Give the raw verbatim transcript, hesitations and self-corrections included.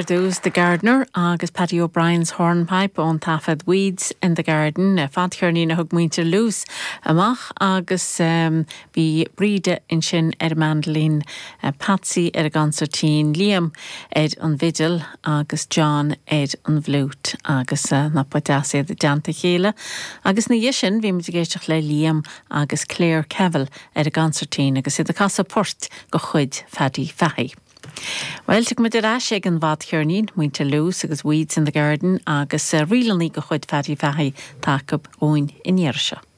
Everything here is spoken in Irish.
ar dtús The Gardener agus Paddy O'Brien's Hornpipe ón taifead Weeds in the Garden, fadcheirnín a thug muintir Loose amach agus um, bhí Bríde ansin ar mandolin, uh, Patsy ar an gconsairtín, Liam ar an bhfidil agus John ar an bhfliúit agus uh, nach deas iad i dteannta a chéile. Agus ina dhiaidh sin bhí muid ag éisteacht le Liam agus Claire Kevill ar an gconsairtín agus iad ag casadh port de chuid Phaddy Fahey. Well muid ar ais ag an bhfadcheirnín muintir Loose agus Weeds in the Garden agus uh, ríleanna de chuid Phaddy Fahey tagtha chugainn an iarraidh seo.